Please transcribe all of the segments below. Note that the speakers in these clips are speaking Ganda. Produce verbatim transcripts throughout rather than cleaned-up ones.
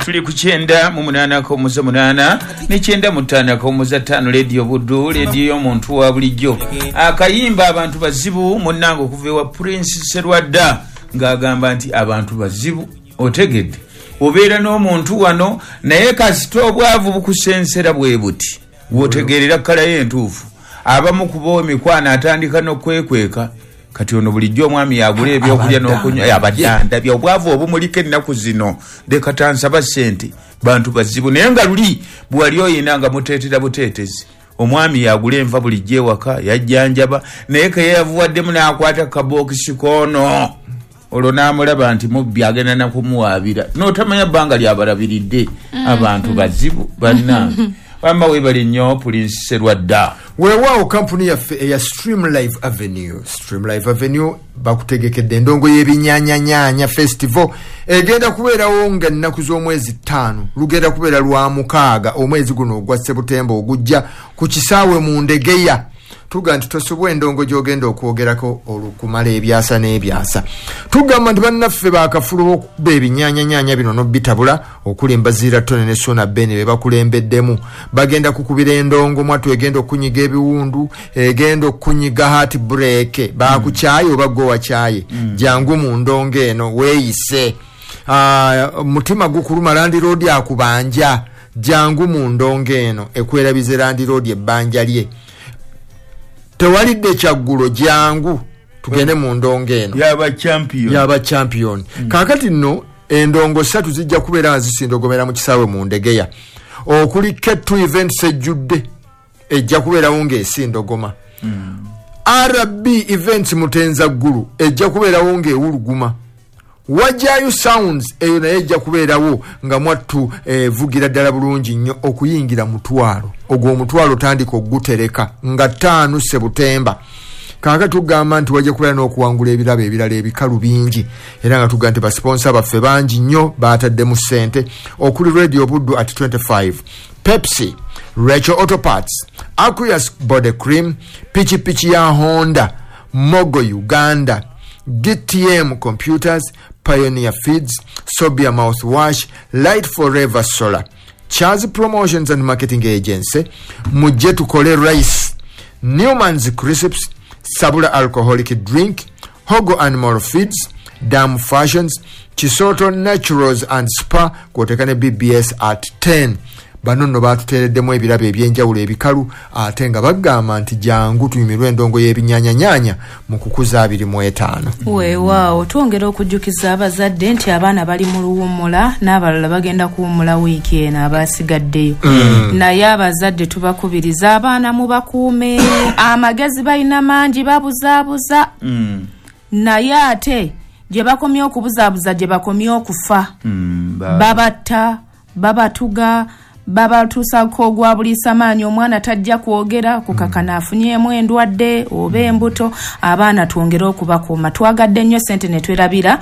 Tuli ku kyenda mu munaana akawummuza munaana ne kyenda mu ttaano akawummuza ttaano, Leediyo Buddu, leediyo y'omuntu wa bulijjo. Akayimba "Abantu Bazibu", munnange, okuva ewa Prince Serwadda, ng'agamba nti abantu bazibu. Otegedde, obeera n'omuntu wano, naye kasita obwavu bukusensera bwe buti, wotegeerera kkalayo entuufu. Abamu kuba emikwano atandika n'okwekweka. Kati ono bulijjo omwami yagula ebyokulya n'okunywa, abadde obwavu obumuliko ennaku zino, leka tansaba ssente. Bantu bazibu. Naye nga luli bwali oyina nga muteetera buteetezi, omwami yagula enva bulijjo ewaka, yajjanjaba, naye keyeyavuwaddemu n'akwata kabookisi koono, olwo n'amulaba nti mubbi, agenda nakumuwaabira, n'otamanya bbanga lyabalabiridde. Abantu bazibu bannange. Wamma weebale nnyo, Prince Serwadda. Weewaawo, kampuni yaffe eya Stream Live Avenue, Stream Live Avenue bakutegekedde endongo y'ebinyanyanyaanya festival, egenda kubeerawo nga ennaku z'omwezi ttaano, lugenda kubeera lwa mukaaga, omwezi guno ogwa Sebutemba ogujja, ku kisaawe mu Ndegeya. Tuga nti tosobwa endongo gy'ogenda okwogerako olukumala ebyasa n'ebyasa. Tugamba nti bannaffe bakafulu okuba ebinyanyanyaanya bino nobitabula, okuli Mbaziira Tone ne Sona Beni be bakulembeddemu, bagenda kukubira endongo mwatu egenda okunyiga ebiwundu, egenda okunyiga heart break. Bakukyaye oba gwe wakyaye, mm. jangu mu ndongo eno weeyise. uh, mutima gukuluma, landlord akubanja, jangu mu ndongo eno ekwerabize landlord ebbanja lye. Tewalidde kyaggulo, jangu tugende mu ndongo eno. Yaba champion. Yaba champion. mm. Kakati nno endongo ssatu zijja kubeera nga zisindogomera mu kisaawe mu Ndegeya, okuli K two Events ejjudde, ejja kubeerawo ng'esindogoma, mm. R B Events Mutenza Ggulu ejja kubeerawo ng'ewuluguma, Wajayo Sounds eyo naye ejja kubeerawo nga mwattu evugira eh, ddala bulungi nnyo. Okuyingira mutwalo, ogwo omutwalo tandika ogutereka nga ttaano Sebutemba. Kaaka tugamba nti wajja kubeera n'okuwangula ebirabo ebirala ebikalu bingi, era nga tugamba nti ba sponsor baffe bangi nnyo bataddemu ssente, okuli Radio Buddu at twenty-five, Pepsi, Rachel Autoparts, Aquarius Body Cream, pichipichi ya Honda, Mogo Uganda, D T M Computers, Pioneer Feeds, Sobia Mouthwash, Light Forever Solar, Charles Promotions and Marketing Agency, Mujje Tukole Rice, Newman's Crisps, Sabula Alcoholic Drink, Hogo Animal Feeds, Dam Fashions, Chisoto Naturals and Spa, kwoteka ne B B S at ten. Bano nno batuteereddemu ebirabo ebyenjawulo ebikalu, ate nga bagamba nti jangu tunyumirwe endongo y'ebinyanyanyaanya mu kukuza abiri mu etaano. Weewaawo, twongera okujjukiza abazadde nti abaana bali mu luwummula, n'abalala bagenda kuwummula wiiki eno abasigaddeyo. mm. Naye abazadde tubakubiriza, abaana mubakuume, amagezi balina mangi, babuzaabuza. mm. Naye ate gye bakomye okubuzaabuza, gye bakomye okufa. mm, babatta, babatuga, babatuusako ogwa buliisa maanyi, omwana tajja kwogera kukakana afunyemu endwadde oba embuto. Abaana twongere okubakuuma. Twagadde nnyo sente ne twerabira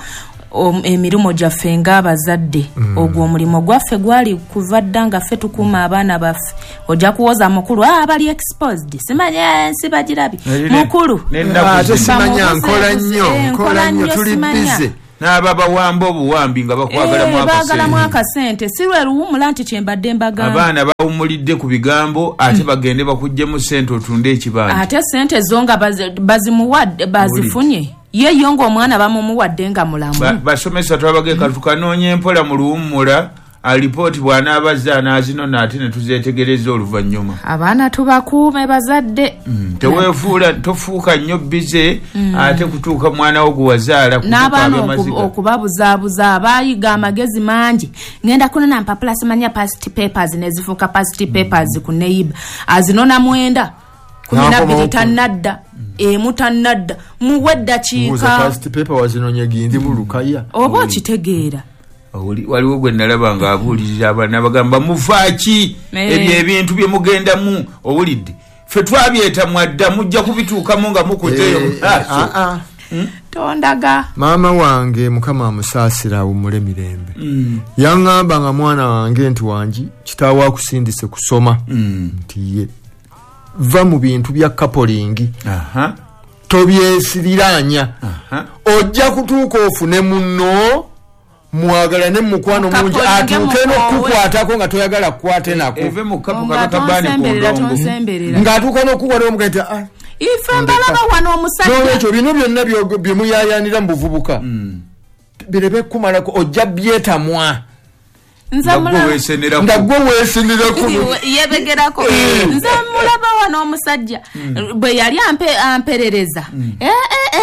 emirimu gyaffe ng'abazadde. mm. Ogwo omulimu gwaffe gwali kuva dda nga ffe tukuuma abaana baffe. Ojja kuwoza mukulu, ah, bali exposed, simanya ensi bagirabye mukulu. Ate simanya nkola nnyo, nkola nnyo, tuli busy. N'ababawamba obuwambi nga bakwagalamu. Baagalamu akasente, si lwe luwumula nti kyembadde mbagamba. Abaana bawumulidde ku bigambo, ate bagende bakuggyemu sente otunde ekibanja. Ate sente zo nga bazimuwadde, bazifunye ye yo ng'omwana bamumuwadde nga mulamu. Basomesa twabageka tukanoonya empola mu luwummula, alipooti bw'anaabazza anaazinona, ate ne tuzeetegereza oluvannyuma. Abaana tubakuume, bazadde. mm, teweefuula, tofuuka nnyo busy mm. ate kutuuka mwana wo gwe wazaala. N'abaana okubabuzaabuza, abayiga amagezi mangi, ngenda kunona mpapula, simanya past papers, nezifuuka past papers ku neiba, azinona mwenda, kumi nabbiri tannadda, emu tannadda, muwe eddakiika. Oba okitegeera. Waliwo gwe nalaba nga abuulirira abaana, bagamba, "Mufaaki ebyo ebintu bye mugendamu? Owulidde, ffe twabyetamwa dda, mujja kubituukamu nga mukuzeeyo eh, mumaaso." Ah, ah. Hmm? Tondaga. Maama wange, Mukama amusaasira awummule mirembe, mm. yaŋŋamba nga mwana wange nti, "Wangi, kitaawo akusindise kusoma," mm. nti ye, "va mu bintu bya coupling, tobyesiriranya, ojja kutuuka ofune munno." Mwagalane mukwano mungi atuuke n'okukwatako nga toyagala kukwate nako. Eve mu kapu kabakabaani ku ndongo. Ng'atuuka n'okukwata omugaye nti ah. Ife mbalaba wano omusajja. N'olwekyo bino byonna bye muyaayaanira mu buvubuka. Birebe kumalako ojja byetamwa. Nze nga gwe weesenerako yebegerako. Nze mulaba wano omusajja bwe yali amperereza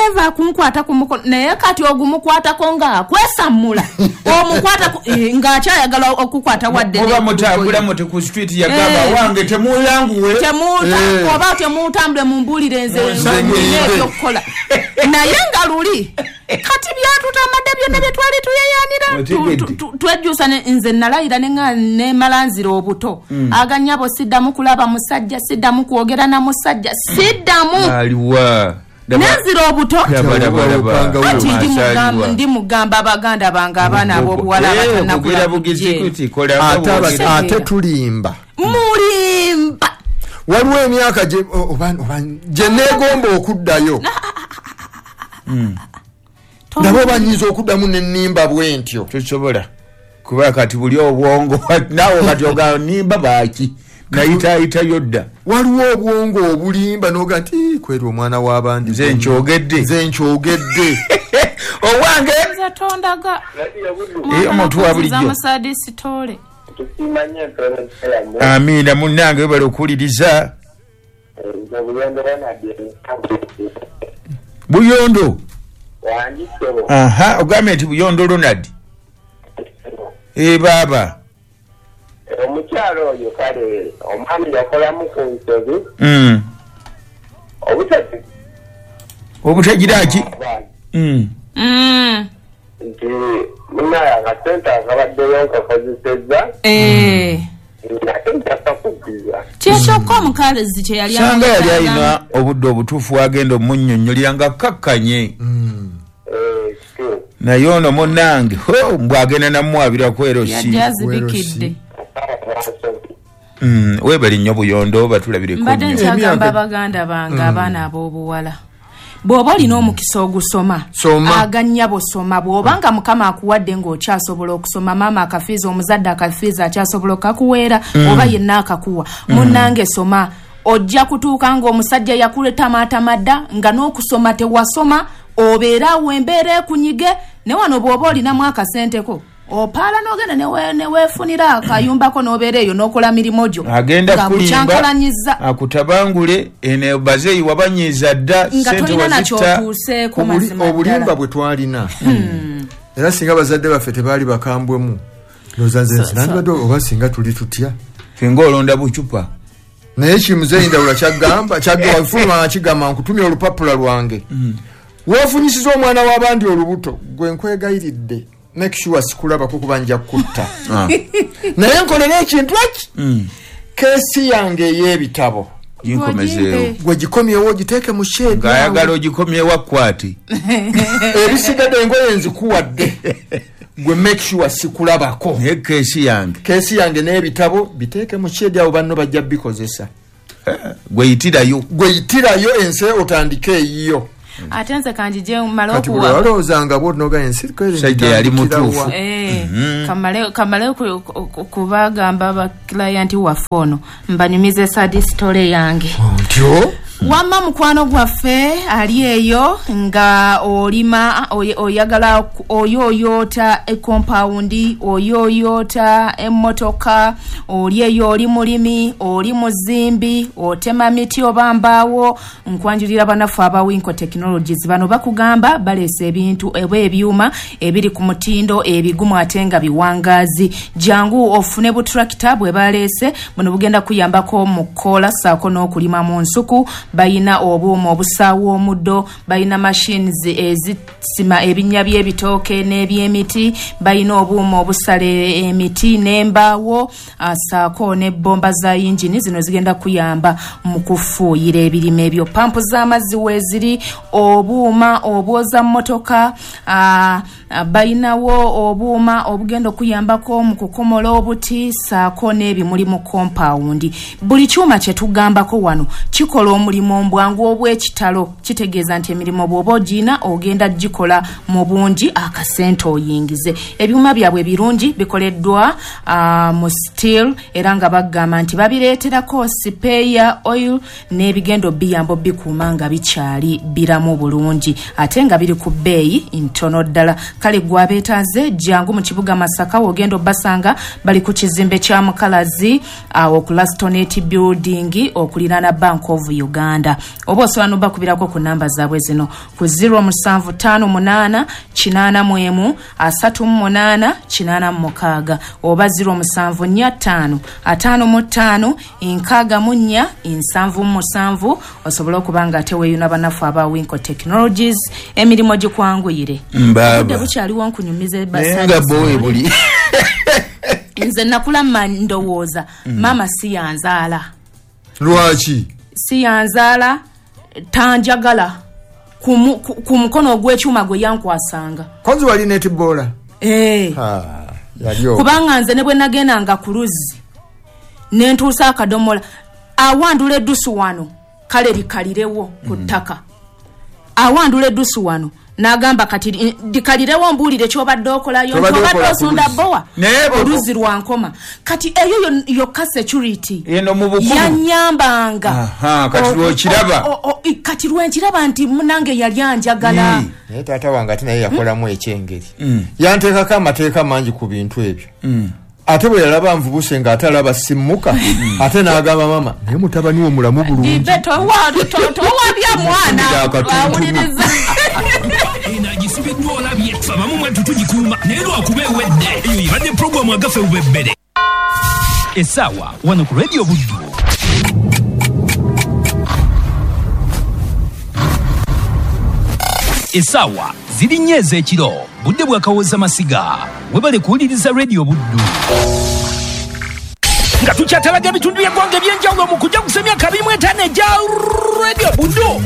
eva kunkwata ku mukono naye kati ogumukwatako nga akwesammula omukwatako ng'akyayagala okukwata wadde oba mutambula muti ku street yagamba wange temuyanguwe oba temutambule mumbuulire nze ebyokukola naye nga luli kati byatutamadde byonna bye twali tuyeyanira twejjusa nze nalayira nemala nzira obuto aganyabo siddamu kulaba musajja siddamu kwogera na musajja siddamu aliwa nenzira obuto ati ndi mugamba abaganda bange abaana ab'obuwala abatannakula ate tulimba mulimba waliwo emyaka gye neegomba okuddayo nabo banyiza okuddamu nennimba bwe ntyo tosobola kuba kati buli obwongo naawe kati ogamba nimba baaki nayitaayitayo dda waliwo obwongo obulimba n'oga nti kweri omwana w'abandi nze nkyogedde nze nkyogedde owange nze tondaga omuntu wa bulijjo amiina munnange webale okuwuliriza Buyondo aha ogambye nti Buyondo Ronald e baba omukyalo oyo kale omwami yakolamu ku nsobi mm obutagira obutagira ki mm mm nti munaye akasente akabaddeyo nkakozesezza eh kyekyoka omukazi kye yali sanga yali alina obudde obutuufu wagenda omunnyonnyolera nga kakkanye naye ono munnange mbwagenda namuwabira ku erosi yajja azibikidde webali nnyo Buyondo batulabireko mbadde nkyagamba baganda bange abaana ab'obuwala bw'oba olina omukisa ogusoma aganyabo soma bw'oba nga Mukama akuwadde ng'okyasobola okusoma maama akafiiza omuzadde akafiiza akyasobola okakuweera oba yenna akakuwa munnange soma ojja kutuuka ng'omusajja yakuletamaatamadda nga n'okusoma tewasoma obeera awo embeera ekunyige ne wano bw'oba olinamu akasenteko opaala n'ogenda neweefunira akayumbako n'obeera eyo n'okola mirimu gyo agenda kulimba akutabangule eno bazeeyi wabanyiiza dda nga tolina nakyotuuseeko mazima obulimba bwe twalina era singa bazadde baffe tebaali bakambwemu ndowooza nze nandibadde oba singa tuli tutya ffe ng'olonda bucupa naye kimuzeeyi Ndawula kyagamba kyagamba kigamba nkutumya olupapula lwange weefunyisiza omwana w'abandi olubuto gwe nkwegayiridde make sure sikulabako kuba nja kutta naye nkolera ekintu eki keesi yange ey'ebitabo ginkomezeewo gwe gikomyewo ogiteeke mu shedi ng'ayagala ogikomyewo akwate ebisigadde engoye nzikuwadde gwe make sure sikulabako naye keesi yange keesi yange n'ebitabo biteeke mu shedi abo banno bajja bikozesa gwe yitirayo gwe yitirayo ensi otandike eyiyo ate nze kanjije mmale okuwa kati bwe walowoozanga bw'onoga ensi sajja yali mutuufu kamale kamale kubagamba baklayenti waffe ono mbanyumize sad story yange ntyo wamma mukwano gwaffe ali eyo nga olima oyagala oyoyota ekompawundi oyoyota emmotoka oli eyo oli mulimi oli muzimbi otema miti oba mbaawo nkwanjulira bannaffe aba Winco Technologies bano bakugamba baleese ebintu oba ebyuma ebiri ku mutindo ebigumu ate nga biwangaazi jangu ofune butrakita bwe baleese buno bugenda kuyambako mu kkola ssaako n'okulima mu nsuku bayina obuuma obusaawa omuddo bayina machines ezisima ebinnya by'ebitooke n'ebyemiti bayina obuuma obusala emiti n'embaawo ssaako n'ebbomba za yingini zino zigenda kuyamba mu kufuuyira ebirime ebyo pampu z'amazzi weeziri obuuma obwoza mmotoka bayinawo obuuma obugenda okuyambako mu kukomola obuti ssaako n'ebimuli mu kompawundi buli kyuma kye tugambako wano kikola omulimu emirimu mbwangu obw'ekitalo. Kitegeeza nti emirimu bw'oba ogina ogenda gikola mu bungi akasente oyingize. Ebyuma byabwe birungi bikoleddwa uh, mu steel, era nga bagamba nti babireeterako spare oil n'ebigendo biyambo bikuuma nga bikyali biramu bulungi ate nga biri ku bbeeyi ntono ddala. Kale gwabeetaaze jangu mu kibuga Masaka, wogenda obbasanga bali ku kizimbe kya Mukalazi awo ku Lastonet building okuliraana Bank of Uganda, oba osobola n'obakubirako ku namba zaabwe zino ku zero musanvu ttaano munaana kinaana mu emu asatu mu munaana kinaana mu mukaaga oba zero musanvu nnya ttaano ataano mu ttaano nkaaga mu nnya nsanvu mu musanvu, osobole okuba nga ate weeyuna bannaffe aba Winco Technologies emirimu gikwanguyire. Obudde bukyaliwo nkunyumize nga bowe buli nze nakula ndowooza maama si yanzaala. Lwaki si yanzaala? Tanjagala ku mukono ogw'ekyuma gwe yankwasanga. Konzi wali netibola? Eh. Kubanga nze ne bwe nagendanga ku luzzi ne ntuusa akadomola awandula eddusu wano kale likalirewo ku ttaka, awandula eddusu wano n'agamba kati dikalirewo mbuulire ky'obadde okolayo, obadde osunda bbowa oluzzi lwa nkoma. Kati eyo yokka security yanyambanga. Kati lwokiraba, kati lwenkiraba nti munange yali anjagala. Naye taata wange ate naye yakolamu ekyengeri, yanteekako amateeka mangi ku bintu ebyo. Ate bwe yalaba nvubuse ng'ate alaba simmuka, ate n'agamba mama naye mutabani wo mulamu bulungi. Towabya mwana awuliriza. Eno agisibiddwa olabye ffe abamu mwattu tugikuuma naye lwakuba ewedde. Eyo ebadde puroguramu agaffe bubebbere essaawa wano ku Radio Buddu. Essaawa ziri nnya ez'ekiro, budde bwakawooza masiga. Webale kuwuliriza Radio Buddu. Nga tukyatalaga ebitundu by'eggwanga eby'enjawulo mu kujaguza emyaka abiri mu etaano egya Radio Buddu.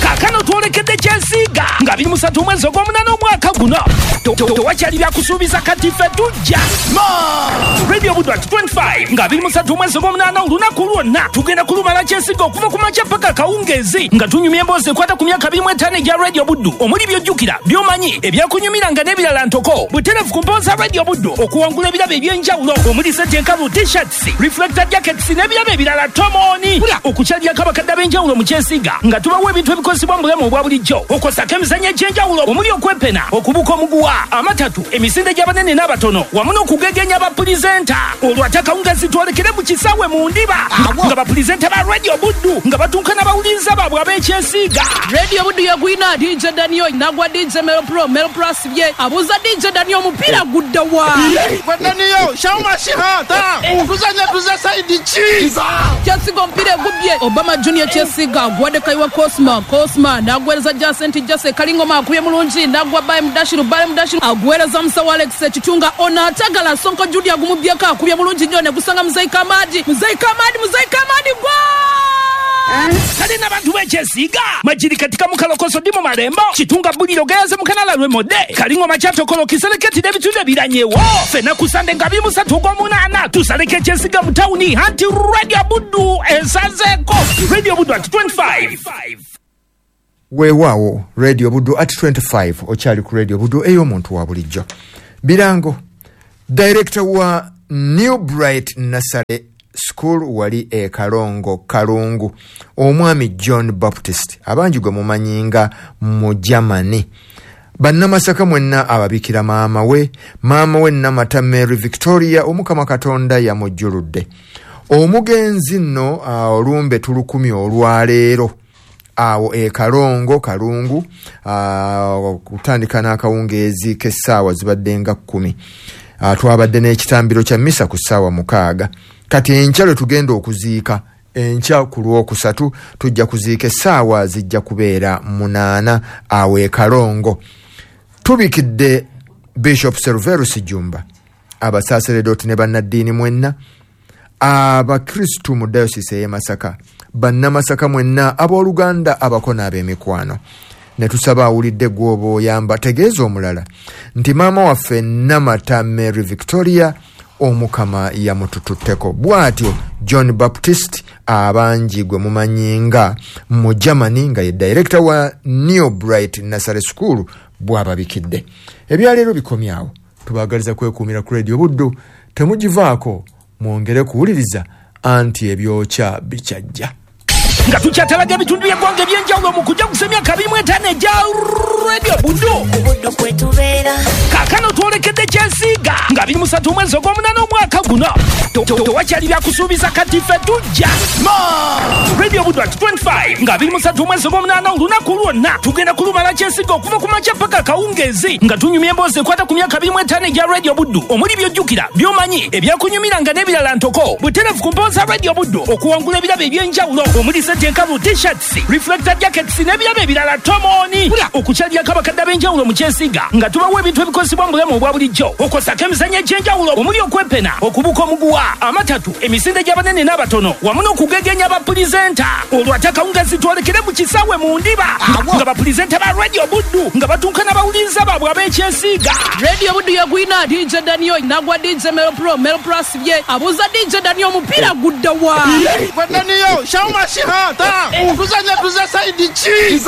Kaakano twolekedde Kyesiiga nga abiri mu ssatu omwezi ogw'omunaana omwaka guno. Tewakyali byakusuubiza kati ffe tujja. Radio Buddu at twenty-five nga abiri mu ssatu omwezi ogw'omunaana olunaku lwonna tugenda kulumala Kyesiiga okuva ku makya paka kawungeezi nga tunyumya emboozi ekwata ku myaka abiri mu etaano egya Radio Buddu omuli by'ojjukira, by'omanyi, ebyakunyumiranga n'ebirala ntoko. Butereevu ku mpooza za Radio Buddu okuwangula ebirabo eby'enjawulo omuli sente enkalu, t-shirts, reflector jackets n'ebirabo ebirala tomoni. Okukyalirako abakadde ab'enjawulo mu Kyesiiga nga tubawa ebintu ebikozesebwa mu bulamu obwa bulijjo okwosako emizannyo egy'enjawulo omuli okwepena, okubuka omuguwa, amatatu, emisinde gy'abanene n'abatono wamu n'okugegenya bapulizenta. Olwo ate akawungeezi twolekere mu kisaawe mu ndiba nga bapulizenta ba Radio Buddu nga batuuka n'abawuliriza baabwe ab'Ekyesiiga. Radio Buddu yagwina D J Daniel nagwa D J Melo Pro, Melo Pro asibye abuuza D J Daniel omupiira gudda wa? Daniel shauma shihata tuzanya tuza saidi chi Kyesiiga omupiira egubbye Obama Junior Kyesiiga agwadde Kaiwa Cosma, Cosma n'agwereza Jacent Jase Kalingoma akubye mulungi n'agwa Baye Mudashiru, Baye Mudashiru agwereza Musawo Alex Ekitunga ono atagala Sonko Judy agumubyeko akubye mulungi nnyo ne gusanga Muzeyi Kamadi, Muzeyi Kamadi, Muzeyi Kamadi gwa Kale n'abantu b'Ekyesiiga Majiri katika mukalokoso ndi mu Malembo Kitunga Buliro Gayaze Mukanala Lwemodde Kalingoma Kyatokolo Kiseleketi n'ebitundu ebiranyewo. Ffenna ku Sande nga abiri mu ssatu ogw'omunaana tusaleko Ekyesiiga mu tawuni anti Radio Buddu esazeeko. Radio Buddu at twenty-five. Weewaawo Radio Buddu at twenty-five okyali ku Radio Buddu ey'omuntu wa bulijjo. Birango director wa New Bright Nursery School wali e Kalongo Kalungu omwami John Baptist abangi gwe mumanyi nga mu Germany. Bannamasaka mwenna ababikira maama we, maama we Namata Mary Victoria omukama Katonda yamujjuludde. Omugenzi nno olumbe tulukumi olwaleero awo e Kalongo Kalungu kutandika n'akawungeezi k'essaawa zibadde nga kkumi. Twabadde n'ekitambiro kya misa ku ssaawa mukaaga. Kati enkya lwe tugenda okuziika, enkya ku lwokusatu tujja kuziika essaawa zijja kubeera munaana awo e Kalongo. Tubikidde Bishop Serverus Jumba, abasaseredoti ne bannaddiini mwenna, abakristu mu dayosisi ey'e Masaka, bannamasaka mwenna, abooluganda abako n'ab'emikwano. Ne tusaba awulidde gw'oba oyamba tegeeza omulala nti maama waffe Namata Mary Victoria omukama yamutututteko. Bw'atyo John Baptist Abangi gwe mumanyi nga mu Germany, nga ye director wa New Bright Nursery School, bw'ababikidde. Ebyaleero bikomyawo, tubaagaliza kwekuumira ku Radio Buddu, temugivaako, mwongere kuwuliriza anti ebyokya bikyajja. Nga tukyatalaga ebitundu by'eggwanga eby'enjawulo mu kujaguza emyaka abiri mu etaano egya Radio Buddu. Buddu kwe tubeera. Kaakano twolekedde Kyesiiga nga abiri mu ssatu omwezi ogw'omunaana omwaka guno. Tewakyali byakusuubiza, kati ffe tujja. Radio Buddu at twenty-five nga abiri mu ssatu omwezi ogw'omunaana, olunaku lwonna tugenda kulumala Kyesiiga okuva ku makya paka kawungeezi, nga tunyumya emboozi ekwata ku myaka abiri mu etaano egya Radio Buddu, omuli by'ojjukira, by'omanyi, ebyakunyumiranga n'ebirala ntoko. Butereevu ku mpooza za Radio Buddu okuwangula ebirabo eby'enjawulo omuli sente enkalu, t-shirts, reflector jackets n'ebirabo ebirala tomoni. Okukyalirako abakadde ab'enjawulo mu Kyesiiga nga tubawa ebintu ebikozesebwa mu bulamu obwa bulijjo, okwosako emizannyo egy'enjawulo omuli okwepena, okubuka omuguwa, amatatu, emisinde gy'abanene n'abatono, wamu n'okugegenya bapulizenta. Olwo ate akawungeezi twolekere mu kisaawe mu Ndiba nga bapulizenta ba Radio Buddu nga batuuka n'abawuliriza baabwe ab'Ekyesiiga. Radio Buddu yagwina D J Daniel nagwa D J Melo Pro, Melo Pro asibye abuuza D J Daniel omupiira gudda wa? Gwe Daniel, Shauma Shihata, tuzanya tuze saidi ki?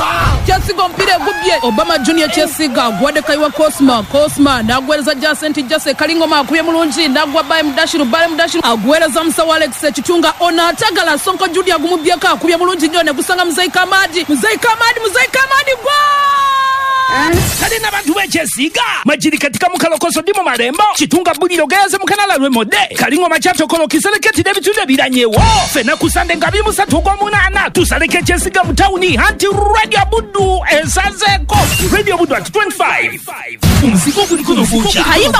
Kyesiiga omupiira egubbye, Obama Junior Kyesiiga agwadde Kayiwa Cosma, Cosma n'agweereza Jacent Jase, Kalingoma akubye mulungi n'agwa Baye Mudashiru, Baye Mudashiru agweereza Musawo Alex Ekitunga, ono atagala Sonko Judy agumubyeko, akubye bulungi nnyo ne gusanga Muzeyi Kamadi, Muzeyi Kamadi, Muzeyi Kamadi gwa! Kale n'abantu b'Ekyesiiga Majiri katika mukalokoso ndi mu Malembo, Kitunga Buliro gayaze mu Kanala Lwemodde, Kalingoma Kyatokolo Kisereketi n'ebitundu ebiranyewo. Ffenna ku Sande nga abiri mu ssatu ogw'omunaana tusaleko Ekyesiiga mu tawuni anti Radio Buddu esazeeko. Radio Buddu at twenty-five. Omuzigo guliko n'oguukya. Kayimba